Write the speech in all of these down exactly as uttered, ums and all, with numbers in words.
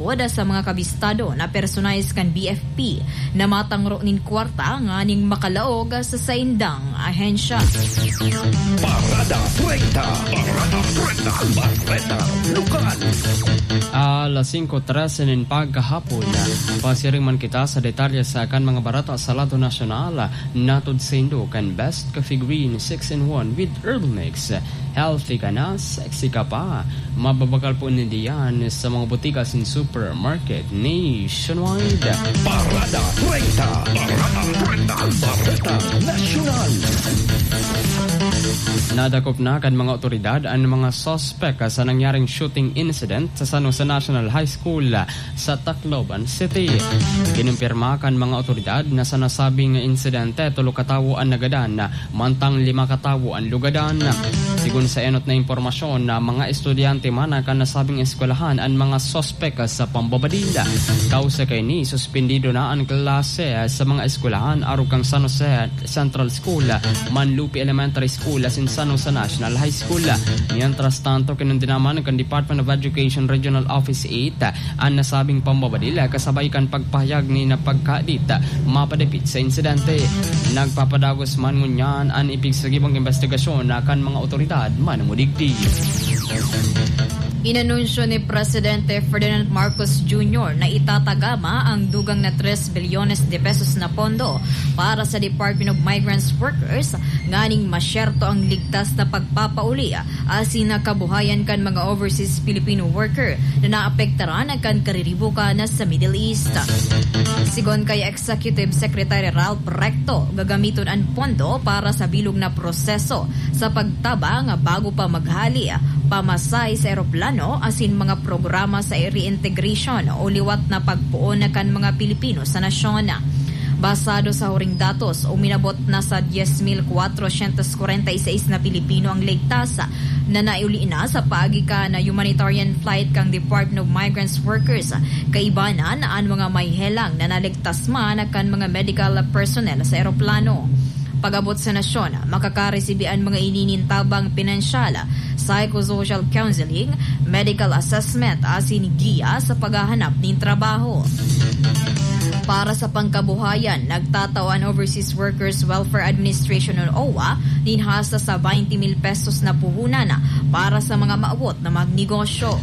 sa mga kabistado na personahe kan B F P na matangro nin kwarta nganing makalaog sa saindang ahensya. Parada treinta. Parada treinta. Bareta Lokal. Alas singko trese nin pagkahapon, pasiring man kita sa detalye sa kan mga bareta sa lado nasyonal. Natod saindo kan Best Coffee Green six-in-one with Herbal Mix. Healthy ka na, sexy ka pa. Mababakal po ninda yan sa mga botika sin supermarket nationwide. Parada treinta. Parada treinta. Bareta Nasyonal. Nadakop na kan mga otoridad an mga suspek sa nangyaring shooting incident sa San Jose National High School sa Tacloban City. Kinumpirma kan mga otoridad na sa nasabing insidente, tolo ka tawo an nagadan, mantang lima ka tawo an lugadan. Sigon sa enot na impormasyon, na mga estudyante man kan nasabing eskwelahan an mga suspek sa pambabadil. Kausa kaini, suspendido na an klase sa mga eskwelahan arog kan San Jose Central School, Manlupi Elementary School asin San Jose National High School. Mientras tanto, kinondena man kan Department of Education Regional Office eight an nasabing pambabadil, kasabay kan pagpahayag nin pagkadit mapadapit sa insidente. Nagpapadagos man ngunyan an ipigsagibong imbestigasyon kan mga otoridad manumudigdi. Inanunsyo ni Presidente Ferdinand Marcos Junior na itatagama ang dugang na tres bilyones de pesos na pondo para sa Department of Migrants Workers nganing masyerto ang ligtas na pagpapauli asin na kabuhayan kan mga overseas Filipino worker na naapektaran kan kariribukan sa Middle East. Sigon kay Executive Secretary Ralph Recto, gagamiton an pondo para sa bilog na proseso sa pagtabang bago pa maghali, pamasahe sa eroplano asin mga programa sa reintegration o liwat na pagpoon kan mga Pilipino sa nasyon. Basado sa huring datos, uminabot na sa dies mil kwatrosyentos kwarenta y seis na Pilipino ang ligtas na naiuli na sa paagi kan humanitarian flight kan Department of Migrants Workers. Kaibanan an mga may helang na naligtas man kan mga medical personnel sa eroplano. Pag-abot sa nasyon, makakaresibi an mga ini nin tabang pinansyal, psychosocial counseling, medical assessment asin giya sa paghahanap nin trabaho. Para sa pangkabuhayan, nagtatao an Overseas Workers Welfare Administration o OWWA nin hasta sa twenty mil pesos na puhunan para sa mga maawot na magnegosyo.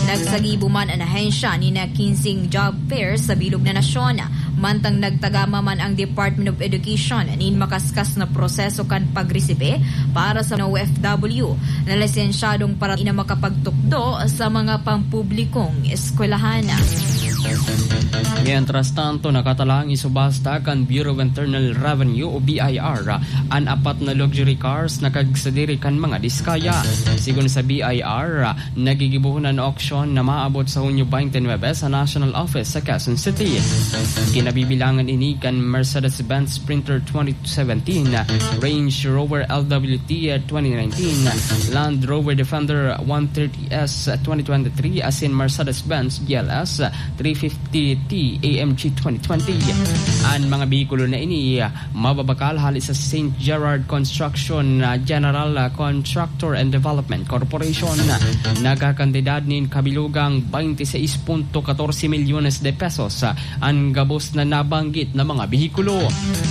Nagsagibo man an ahensya nin kinseng job fair sa bilog na nasyon, mantang nagtagama man ang Department of Education nin makaskas na proseso kan pagresibe para sa O F W na lisensyadong para na makapagtukdo sa mga pampublikong eskwelahan. Mientras tanto, nakatalang isubasta kan Bureau of Internal Revenue o B I R an apat na luxury cars na kagsadiri kan mga Diskaya. Sigon sa B I R, nagigibohon an auction na maabot sa Hunyo twenty-nine sa National Office sa Quezon City. Kinabibilangan ini kan Mercedes-Benz Sprinter twenty seventeen, Range Rover L W T twenty nineteen, Land Rover Defender one thirty S twenty twenty-three asin Mercedes-Benz G L S three fifty T A M G twenty twenty. An mga behikulo na ini mababakal hali sa Saint Gerard Construction, ah, General, ah, Contractor and Development Corporation. Nagkakantidad nin kabilugang twenty-six punto katorse milyones de pesos, ah, an gabos na nabanggit na mga behikulo.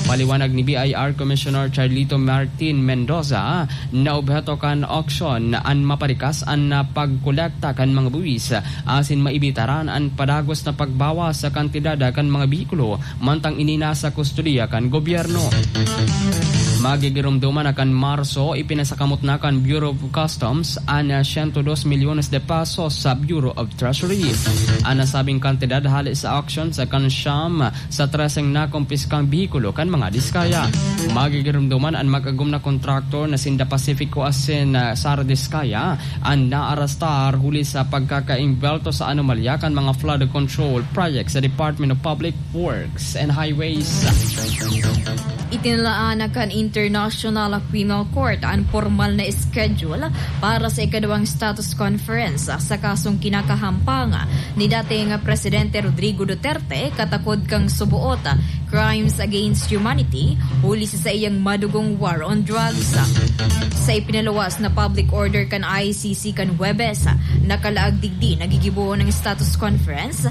Paliwanag ni B I R Commissioner Charlito Martin Mendoza, na obheto kan auction an maparikas an, ah, pagkolekta kan mga buwis, ah, asin maibitaran an padagos na pagbawas sa kantidad, ah, kan mga behikulo mantang ini nasa kustodiya kan gobyerno. Magigiromdoman na kan Marso, ipinasakamot na kan Bureau of Customs an, ah, siyento dos milyones de pesos sa Bureau of Treasury. An nasabing kantidad hale sa auction sa kan siyam sa treseng nakumpiskang behikulo kan mga Diskaya. Magigiromdoman an mag-agom na kontraktor na sinda Pacifico asin, ah, Sara Diskaya an naarastar huli sa pagkakaimbwelto sa anomalya kan mga flood control project sa Department of Public Works and Highways. Itinalaan na kan International Criminal Court an pormal na schedule para sa ikaduwang status conference sa kasong kinakahampang ni dating Presidente Rodrigo Duterte katakod kan suboot crimes against humanity huli sa saiyang madugong war on drugs. Sa ipinaluwas na public order kan I C C kan Huwebes, nakalaag digdi nagigibohon ang status conference